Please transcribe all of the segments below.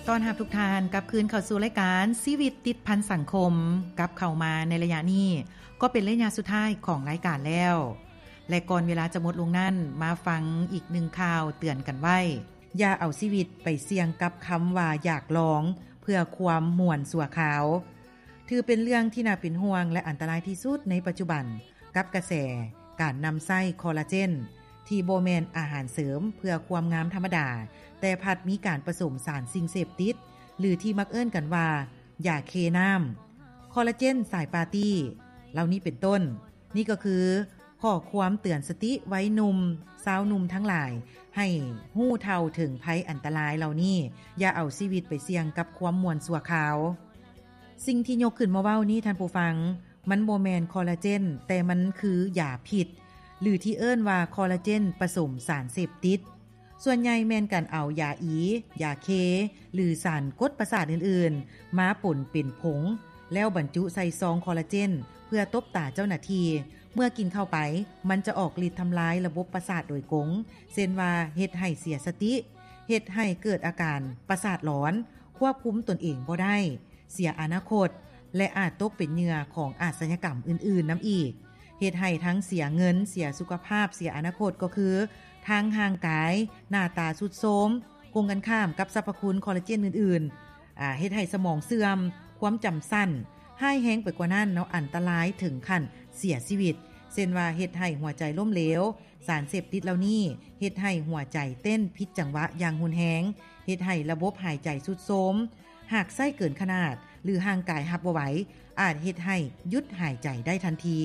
ຕ້ອນຮັບທຸກທ່ານກັບຄືນເຂົ້າສູ່ລາຍການຊີວິດຕິດພັນສັງຄົມ. ກັບເຂົ້າມາໃນໄລຍະນີ້ ກໍເປັນໄລຍະສຸດທ້າຍຂອງລາຍການແລ້ວ ແລະ ກ່ອນເວລາຈະໝົດລົງນັ້ນ ມາຟັງອີກໜຶ່ງຂ່າວເຕືອນກັນໄວ້. ຢ່າເອົາຊີວິດໄປສ່ຽງກັບຄຳວ່າຢາກລອງ ເພື່ອຄວາມມ່ວນຊົ່ວຄາວ. ຖືເປັນເລື່ອງທີ່ໜ້າເປັນຫ່ວງ ແລະ ອັນຕະລາຍທີ່ສຸດໃນປັດຈຸບັນ ກັບກະແສການນຳໃຊ້ຄໍລາເຈນ ທີ່ບໍ່ແມ່ນອາຫານເສີມເພື່ອຄວາມງາມທຳມະດາ, ແຕ່ພັດມີການປະສົມສານສິ່ງເສບຕິດ ຫຼື ທີ່ມັກເອີ້ນກັນວ່າ ຢາເຄນ້ຳ, ຄໍລາເຈນສາຍປາຕີ້ ເຫຼົ່ານີ້ເປັນຕົ້ນ. ນີ້ກໍຄືຂໍ້ຄວາມເຕືອນສະຕິໄວໜຸ່ມ, ຊາວໜຸ່ມທັງຫຼາຍ ໃຫ້ຮູ້ເທົ່າເຖິງໄພອັນຕະລາຍເຫຼົ່ານີ້, ຢ່າເອົາຊີວິດໄປສ່ຽງກັບຄວາມມ່ວນຊົ່ວຄາວ. ສິ່ງທີ່ຍົກຂຶ້ນມາເວົ້ານີ້, ທ່ານຜູ້ຟັງ, ມັນບໍ່ແມ່ນຄໍລາເຈນ, ແຕ່ມັນຄືຢາພິດ ຫຼື ທີ່ເອີ້ນວ່າຄໍລາເຈນປະສົມສານເສບຕິດ. ສ່ວນໃຫຍ່ແມ່ນການເອົາຢາອີ, ຢາເຄ ຫຼື ສານກົດປະສາດອື່ນໆ ມາປົນເປັນຜົງ ແລ້ວບັນຈຸໃສ່ຊອງຄໍລາເຈນ ເພື່ອຕົບຕາເຈົ້າໜ້າທີ່. ເມື່ອກິນເຂົ້າໄປ, ມັນຈະອອກລິດທຳລາຍລະບົບປະສາດໂດຍກົງ, ເຊັ່ນວ່າ ເຮັດໃຫ້ເສຍສະຕິ, ເຮັດໃຫ້ເກີດອາການປະສາດຫຼອນ, ຄວບຄຸມຕົນເອງບໍ່ໄດ້, ເສຍອະນາຄົດ ແລະ ອາດຕົກເປັນເຫຍື່ອຂອງອາຊະຍາກຳອື່ນໆນຳອີກ, ເຮັດໃຫ້ທັງເສຍເງິນ, ເສຍສຸຂະພາບ, ເສຍອະນາຄົດ ກໍຄືທາງຮ່າງກາຍ, ໜ້າຕາຊຸດໂຊມ. ກົງກັນຂ້າມກັບສັບພະຄຸນຄໍລາເຈນອື່ນໆ, ອາ, ເຮັດໃຫ້ສະໝອງເສື່ອມ, ຄວາມຈຳສັ້ນ, ຮ້າຍແຮງໄປກວ່ານັ້ນເນາະ, ອັນຕະລາຍເຖິງຂັ້ນເສຍຊີວິດ, ເຊັ່ນວ່າ ເຮັດໃຫ້ຫົວໃຈລົ້ມເຫຼວ. ສານເສບຕິດເຫຼົ່ານີ້ເຮັດໃຫ້ຫົວໃຈເຕັ້ນຜິດຈັງຫວະຢ່າງຮຸນແຮງ, ເຮັດໃຫ້ລະບົບຫາຍໃຈຊຸດໂຊມ. ຫາກໃຊ້ເກີນຂະໜາດ ຫຼື ຮ່າງກາຍຮັບບໍ່ໄຫວ, ອາດເຮັດໃຫ້ຢຸດຫາຍໃຈໄດ້ທັນທີ.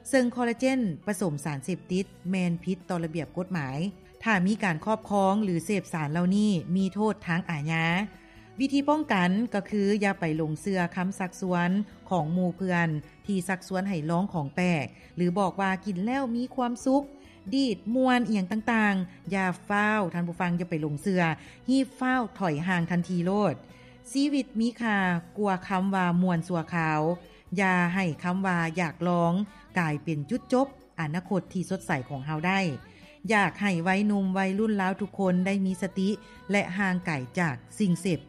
ເຊິ່ງຄໍລາເຈນປະສົມສານເສບຕິດແມ່ນຜິດຕໍ່ລະບຽບກົດໝາຍ. ຖ້າມີການຄອບຄອງ ຫຼື ເສບສານເຫຼົ່ານີ້ ມີໂທດທາງອາຍາ. ວິທີປ້ອງກັນກໍຄື ຢ່າໄປຫຼົງເຊື່ອຄຳຊັກຊວນຂອງໝູ່ເພື່ອນ ທີ່ຊັກຊວນໃຫ້ລອງຂອງແປກ ຫຼື ບອກວ່າກິນແລ້ວມີຄວາມສຸກ, ດີດ, ມ່ວນ ອີ່ຫຍັງຕ່າງໆ. ຢ່າຟ້າວ, ທ່ານຜູ້ຟັງ, ຢ່າໄປຫຼົງເຊື່ອ, ຮີບຟ້າວຖອຍຫ່າງທັນທີໂລດ. ຊີວິດມີຄ່າກວ່າຄຳວ່າມ່ວນຊົ່ວຄາວ. ຢ່າໃຫ້ຄຳວ່າຢາກລອງກາຍເປັນຈຸດຈົບອະນາຄົດທີ່ສົດໃສຂອງເຮົາໄດ້. ຢາກໃຫ້ໄວໜຸ່ມໄວລຸ້ນລາວທຸກຄົນໄດ້ມີສະຕິ ແລະ ຫ່າງໄກຈາກສິ່ງເສບ